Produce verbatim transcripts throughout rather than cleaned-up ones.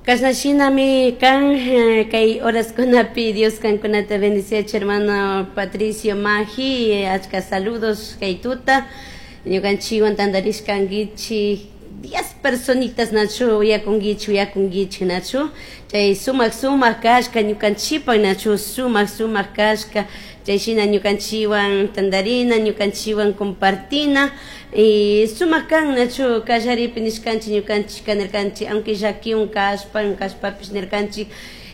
Chashnashinami kan kay horaskunapi Dios kankunata bendiciachi, hermano Patricio Maji, achka saludos kay tuta ñukanchikwan tantarishkankichik diez personitas, nachu? Uyakunkichik, uyakunkichik, nachu? Chay sumak sumak kashka ñukanchikpak, nachu? Sumak sumak kashka. Chay shina ñukanchikwan tantarina, ñukanchikwan compartina y sumak kan, nachu? Kallaripi nishkanchik, ñukanchik nirkanchik, aunque llakiwan kashpa kashpapish nirkanchik,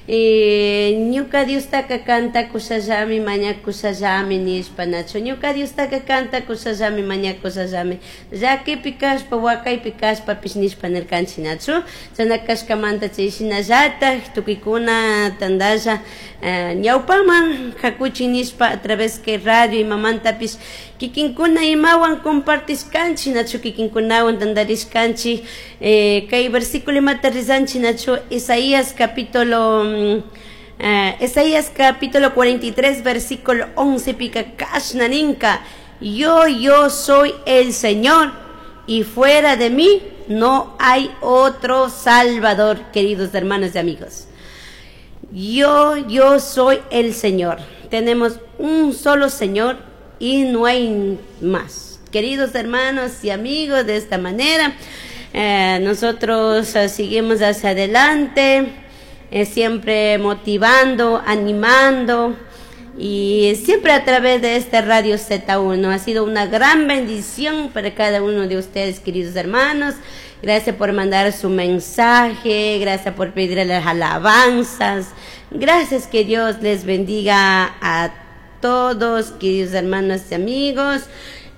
ñuka Diostaka cantakushallami, mañakushallami nishpa, nachu? Ñuka Diostaka cantakushallami, mañakushallami, llakipi kashpa, wakaypi kashpapish nishpa nirkanchik, nachu? Chashna kashkamanta chay shinallatak tukuykuna tantalla ñawpaman hakuchik nishpa a través que radio imamantapish kikinkuna imawan compartishkanchik, nachu? Kikinkunawan tantarishkanchik. Kay versículo imata rizanchik, nachu? Isaías capítulo Isaías capítulo cuarenta y tres versículo once pika kashna ninka: "Yo, yo soy el Señor y fuera de mí no hay otro Salvador", queridos hermanos y amigos. Yo, yo soy el Señor. Tenemos un solo Señor y no hay más. Queridos hermanos y amigos, de esta manera, eh, nosotros eh, seguimos hacia adelante, eh, siempre motivando, animando y siempre a través de este Radio Z uno. Ha sido una gran bendición para cada uno de ustedes, queridos hermanos. Gracias por mandar su mensaje, gracias por pedir las alabanzas. Gracias, que Dios les bendiga a todos, queridos hermanos y amigos.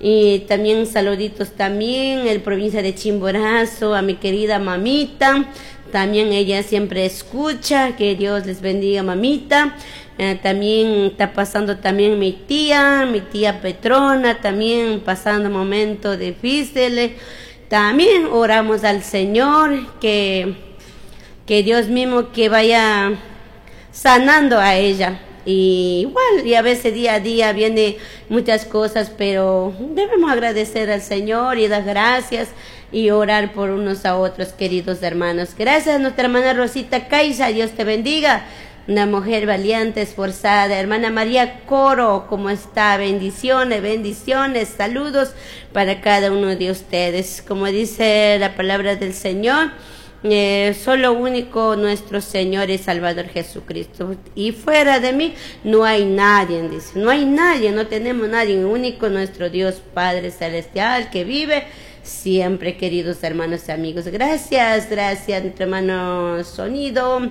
Y también saluditos también en la provincia de Chimborazo, a mi querida mamita. También ella siempre escucha, que Dios les bendiga, mamita. Eh, también está pasando también mi tía, mi tía Petrona, también pasando momentos difíciles. También oramos al Señor que, que Dios mismo que vaya sanando a ella. Y igual, y a veces día a día viene muchas cosas, pero debemos agradecer al Señor y dar gracias y orar por unos a otros, queridos hermanos. Gracias a nuestra hermana Rosita Caiza, Dios te bendiga. Una mujer valiente, esforzada. Hermana María Coro, ¿cómo está? Bendiciones, bendiciones, saludos para cada uno de ustedes. Como dice la palabra del Señor, eh, solo único nuestro Señor y Salvador Jesucristo. Y fuera de mí no hay nadie, dice. No hay nadie, no tenemos nadie. Único nuestro Dios Padre Celestial que vive siempre, queridos hermanos y amigos. Gracias, gracias, nuestro hermano Sonido.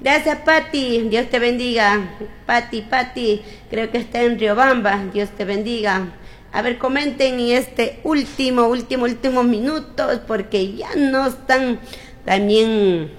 Gracias, Pati. Dios te bendiga. Pati, Pati, creo que está en Riobamba. Dios te bendiga. A ver, comenten en este último, último, último minutos, porque ya no están. También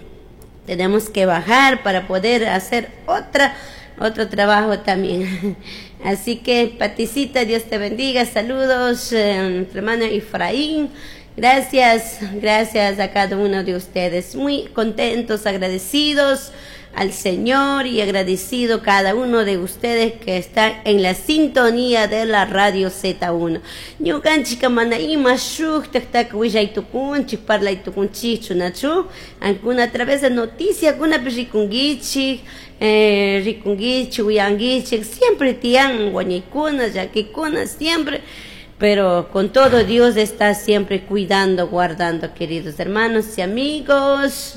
tenemos que bajar para poder hacer otra, otro trabajo también. Así que, Paticita, Dios te bendiga. Saludos, eh, hermano Efraín. Gracias, gracias a cada uno de ustedes. Muy contentos, agradecidos al Señor y agradecido cada uno de ustedes que está en la sintonía de la radio Z uno. Ñukanchik mana ima shuktak willay tukunchik, parlay tukunchikchu, nachu? Ankuna a través de noticias, kunapi rikunkichik, eh, rikunkichik, uyankichik, siempre tiyan wañuykuna, llakikuna, siempre, pero con todo Dios está siempre cuidando, guardando, queridos hermanos y amigos.